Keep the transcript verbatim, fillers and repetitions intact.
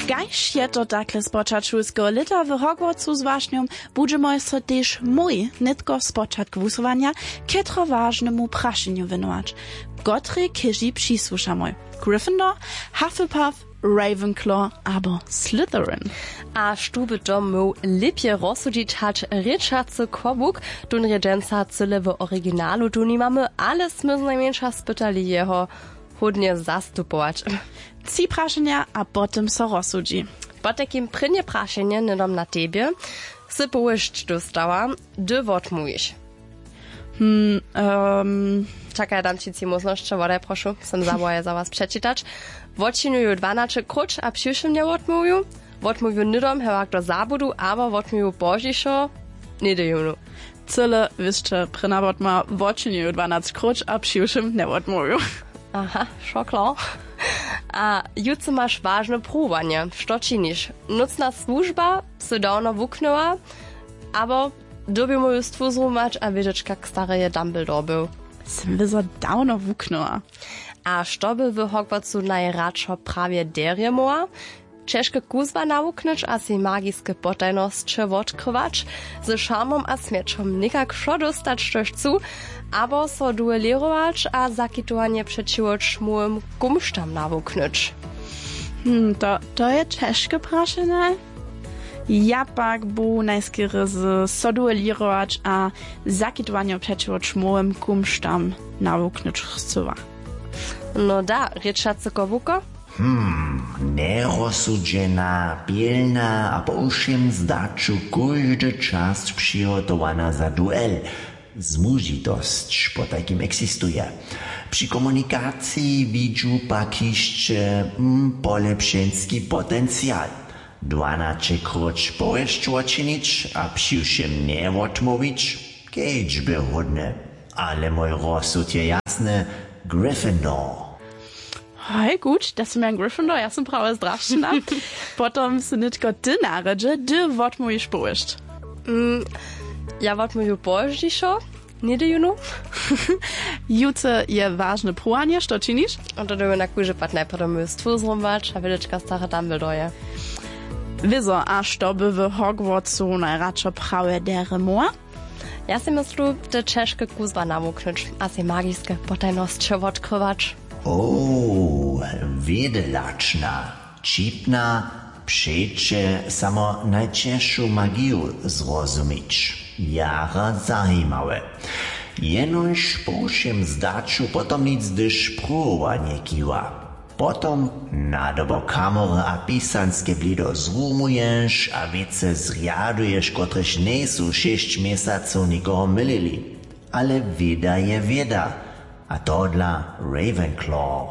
Kaž je to takle spočatk šulskeho lěta w Hogwartsu z wašnjom, budźemoj so tež mój nětko spočatk wusyłanja k trowažnemu prašenju wěnować. Kotrej chěži přisłušamoj? Gryffindor, Hufflepuff, Ravenclaw abo Slytherin? A štó by to móhł lěpje rozsudźić hač rěčacy kobuk? Tón rjedźenca cyle w originalu tu nimamy, ale smy znajmjeńša spytali jeho hódnje zastupować. Tři prašenja a potom so rozsudźi. Potajkim prěnje prašenje hnydom na tebje. Sy powěsć dóstała, hdy wotmołwiš? Hmm, um, čakaj, dam ći tři móžnosće, wodaj prošu, sem zawołaje za was přečitać. Wotčinju ju dwanaće króć a přiwšěm njewotmołwju. Wotmołwju hnydom hewak do zabudu abo wotmołwju pozdźišo, něhdy jónu. Cyle wěsće prěnawotma, wotčinju ju dwanaće króć a přiwšěm njewotmołwju. Aha, šoklo. A jutře maš wažne pruwowanje. Što činiš? Nócna słužba sy dawno wuknyła, abo dyrbimy ju stwuzrumować a wědźeć kak stary je Dumbledore był? Sym wězo dawno wuknyła. A što by w Hogwartsu najradšo prawje derje móhła? Ćežke kuzła nawuknyć a sej magiske potajnosće wotkrywać, ze šarmom a smjećom někak wšo dóstać štož chcu, abo so duelěrować a zakitowanje přećiwo čmołym kumštam nawuknyć? Hm, to, to je ćežke prašenje. Ja pak bu najskerje z so duelěrować a zakitowanje přećiwo čmołym kumštam nawuknyć chcyła. No da, rěčacy kobłuko. Hmm, njerozsudźena, pilna a po wšěm zdaću kóždy čas přihotowana za duel. Zmužitosć potajkim eksistuje. Při komunikaciji widźu pak hišće, hm, polepšenski potencial. Dwanaće króć powěsć wočinić a přiwšěm njewotmołwić, kedźbě hódne. Ale mój rozsud je jasny, Gryffindor. Haj gut, da sym ja Gryffindor, ja sym prawje zdrašćena. Potom sy nětko ty narjedźe, hdy wotmołwiš powěsć? Mm, ja wotmołwju pozdźišo, něhdy jónu. Jutře je wažne pruwanje, što činiš? A to dyrby na kóždy pad najprjedy mój stwór zhromadź a wědečka stare Dumbledore je. Wězo, a što by w Hogwartsu najradšo prawje derje móhła? Ja sej myslu, te ćežke kuzła nawuknyć a sej magiske potajnosće wotkrywać. O, wědelačna, ćipna, přeće samo najćežšu magiju zrozumić. Jara zajimawe. Jenož po wšěm zdaću potom nic, hdyž pruwowanje kiwa. Potom nadobo kamory a pisanske blido zrumuješ a wěcy zrjaduješ, kotrež njejsu šěsć měsacow někoho mylili. Ale wěda je wěda. A tohodla Ravenclaw.